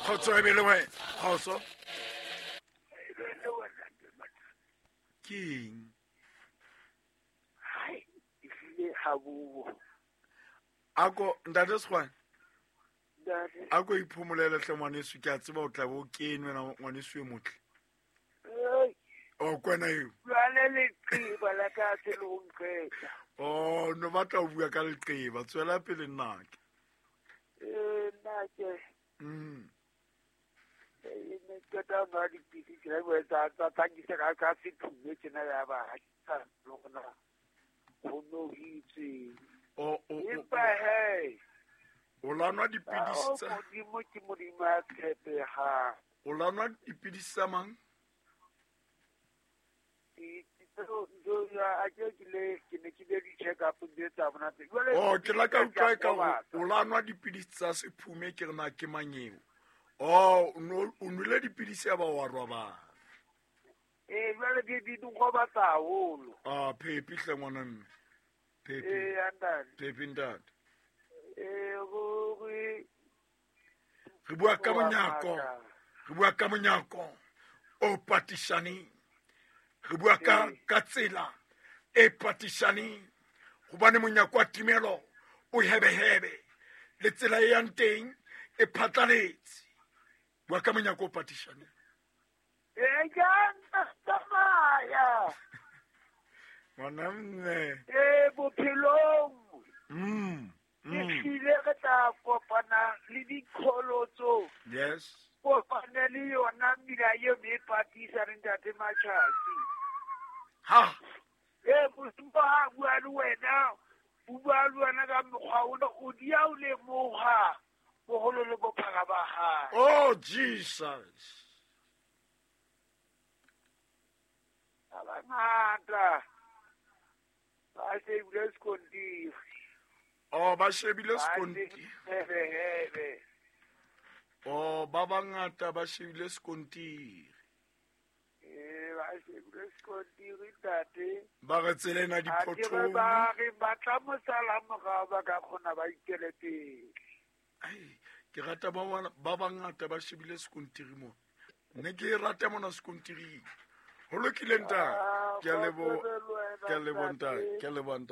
Kgotso e be le wena. Kgotso. Ke eng? Hai, ehlile ha buo. Ako ntate Sekgwane. Ntate. Ako iphomolele hle ngwaneso, ke a tseba o tla be o kene wena ngwaneso e motle. Ei. O kwena eo. Jwale leqeba la ka se le ho nqeta. Oh, no batla ho bua ka leqeba, tswela pele nnake. Eh, nnake. Eh, ne qeta ho nwa dipidisi tjena, ke tsa nkisa ka sephume tjena ya ba ha ke sa le hore na ho no ho itseng. O. Empa he. O la nwa dipidisi Oh, tsa Modimo ke Modimo a tshepehang. O la nwa dipidisi tsa mang? Oh, ke la ka utlwa e ka o la nwa dipidisi tsa sephume, ke re na ke mang eo? Oh, o nwele dipidisi ya ba wa robala. Eh, jwale di nrobatsa haholo. Ah, Phepi hle ngwana mme. Phepi. Eh, ntate. Phepi ntate. Eh, ruri. Re bua ka Wa monyako. maka. Re bua ka monyako o patisaneng. Re bua ka tsela e patisaneng. Hobane monyako wa timelo o hebehebe, le tsela e yang teng e phatlaletse. Bua ka monyako o patisaneng. Eh, ke a tsamaya. Ngwana mme. Eh, bophelong. Ke hlile re tla kopana le diqholotso. Yes. Kopane le yona mmila eo me patisa le ntate Matjhatsi. Ha. Eh, Modimo ha bua le wena, o bua le wena ka mokgwa ona, o dia o lemoha boholo le bophara ba hae. Oh, Jesus. Ba bangata ba shebile sekontiri. Oh, ba shebile Ba sekontiri. shebile. Oh, ba bangata ba shebile sekontiri. Eh, ba shebile sekontiri, ntate. Ba re tsela ena Ha ke re diphothong. ba re ba tla mo sala morao, ba ka kgona ba ikele pele. Ai, ke rata ba bangata ba shebile sekontiri mona. Ne ke e rata mona sekontiring. Ho lokile, ntate. Ah, Ke a leboha. kgotso le wena, Ke a leboha, ntate. ntate. Ke a leboha, ntate.